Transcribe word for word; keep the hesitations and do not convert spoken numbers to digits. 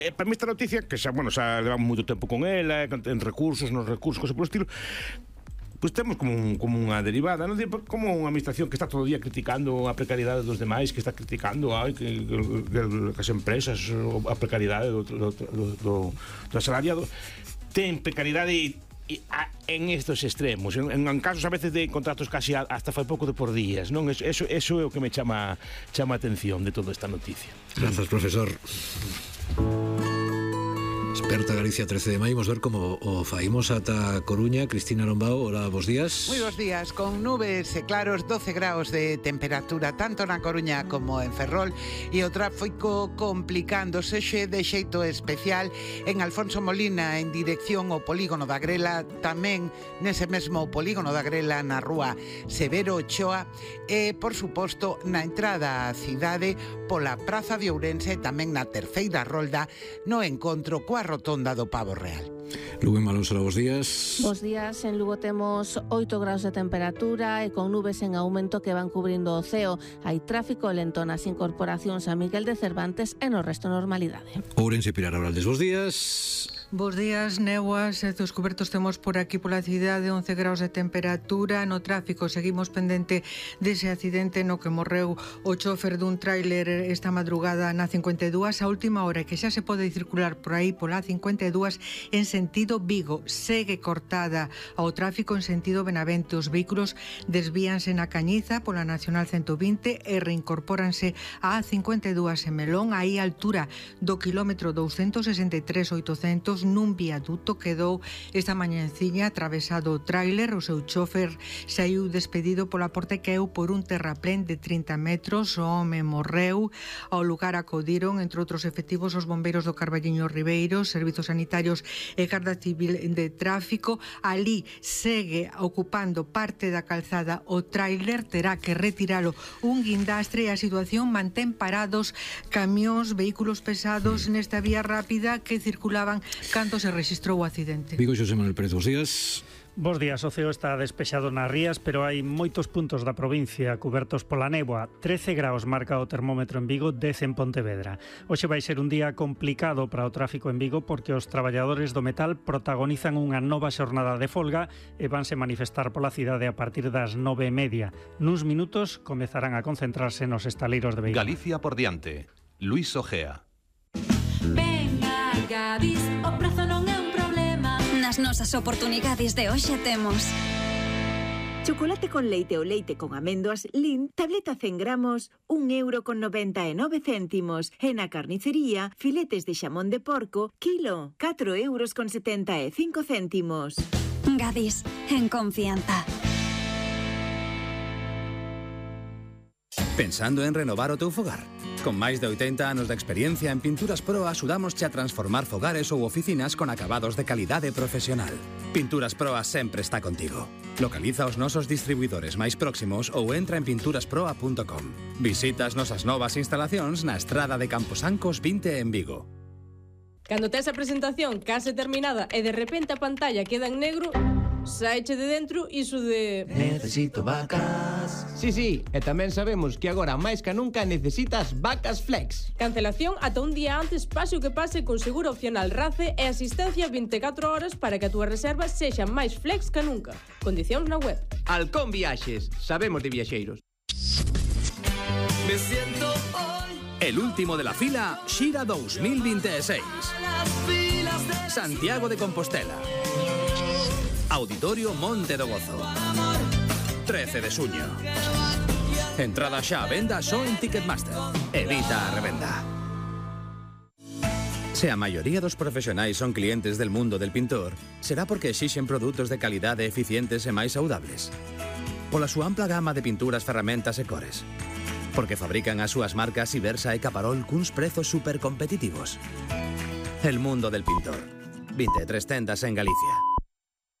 eh, para mí esta noticia, que xa, bueno, xa levamos moito tempo con ela, en recursos, nos recursos, cosas por estilo, pois temos como, un, como unha derivada, non? Como unha administración que está todo o día criticando a precariedade dos demais, que está criticando ai, que, que, que, que as empresas, a precariedade do, do, do, do, do asalariado, ten precariedade e en estos extremos, en, en casos a veces de contratos casi hasta fai pouco de por días, non? Eso, eso, eso é o que me chama chama a atención de toda esta noticia. Grazas, profesor. Experta Galicia trece de maio, vamos ver como o faimos ata Coruña. Cristina Lombao, hola, bos días. Moi bos días, con nubes e claros, doce graus de temperatura tanto na Coruña como en Ferrol, e o tráfico complicándose xe de xeito especial en Alfonso Molina en dirección ao polígono da Grela, tamén nese mesmo polígono da Grela na rúa Severo Ochoa e, por suposto, na entrada á cidade pola Praza de Ourense, tamén na terceira rolda no encontro coa rotonda do Pavo Real. Lugo en Malón, bos días. Bos días, en Lugo temos oito graus de temperatura e con nubes en aumento que van cubrindo o ceo. Hai tráfico lento nas incorporacións a Miguel de Cervantes e no resto normalidade. Ourense, Pilar Abraldes, bos días. Bos días, Neuas, estos cubertos temos por aquí pola cidade, once graus de temperatura. No tráfico seguimos pendente dese accidente no que morreu o chofer dun tráiler esta madrugada na cincuenta e dúas. A última hora que xa se pode circular por aí pola cincuenta e dúas en sentido Vigo. Segue cortada ao tráfico en sentido Benavente. Os vehículos desvíanse na Cañiza pola Nacional ciento vinte e reincorpóranse á cincuenta e dúas en Melón, aí a altura do quilómetro douscentos sesenta e tres oitocentos. Nun viaduto quedou esta mañanciña atravesado o tráiler. O seu chofer saiu despedido pola porta e caeu por un terraplén de trinta metros. O home morreu. Ao lugar acudiron, entre outros efectivos, os bombeiros do Carballiño Ribeiro, servizos sanitarios e Garda Civil de Tráfico. Ali segue ocupando parte da calzada o tráiler, terá que retiralo un guindastre e a situación mantén parados camións, vehículos pesados nesta vía rápida que circulaban cando se rexistrou o accidente. Vigo, Xosé Manuel Pérez, bos días. Bos días, o ceo está despexado nas rías, pero hai moitos puntos da provincia cubertos pola néboa. trece graus marca o termómetro en Vigo, dez en Pontevedra. Hoxe vai ser un día complicado para o tráfico en Vigo porque os traballadores do metal protagonizan unha nova xornada de folga e vanse manifestar pola cidade a partir das nove e media. Nuns minutos comezarán a concentrarse nos estaleiros de Vigo. Galicia por diante. Luis Ojea. Venga, Gadis, o prezo non é un problema. Nas nosas oportunidades de hoxe temos chocolate con leite ou leite con améndoas Lin, tableta cen gramos, un euro con noventa e nove céntimos. E na carnicería, filetes de xamón de porco, kilo, catro euros con setenta e cinco céntimos. Gadis, en confianza. Pensando en renovar o teu fogar? Con máis de oitenta anos de experiencia en Pinturas Pro axudámosche a transformar fogares ou oficinas con acabados de calidade profesional. Pinturas Pro sempre está contigo. Localiza os nosos distribuidores máis próximos ou entra en pinturas proa punto com. Visita as nosas novas instalacións na estrada de Camposancos vinte en Vigo. Cando tes a presentación case terminada e de repente a pantalla queda en negro, saiche de dentro iso de... Necesito vacas. Sí, sí, e tamén sabemos que agora máis que nunca necesitas vacas flex. Cancelación ata un día antes, pase o que pase, con seguro opcional RACE e asistencia vinte e catro horas para que a túa reserva sexa máis flex que nunca. Condicións na web. Halcón Viaxes, sabemos de viaxeiros. Me siento hoy el último de la fila Xira dos mil veintiséis. Santiago de Compostela. Auditorio Monte do Gozo. trece de xuño. Entrada xa a venda só en Ticketmaster. Evita a revenda. Se a maioría dos profesionais son clientes del mundo del pintor, será porque exixen produtos de calidade eficientes e máis saudables. Pola súa ampla gama de pinturas, ferramentas e cores. Porque fabrican as súas marcas Ibersa e Caparol cuns prezos super competitivos. El mundo del pintor. vinte e tres tendas en Galicia.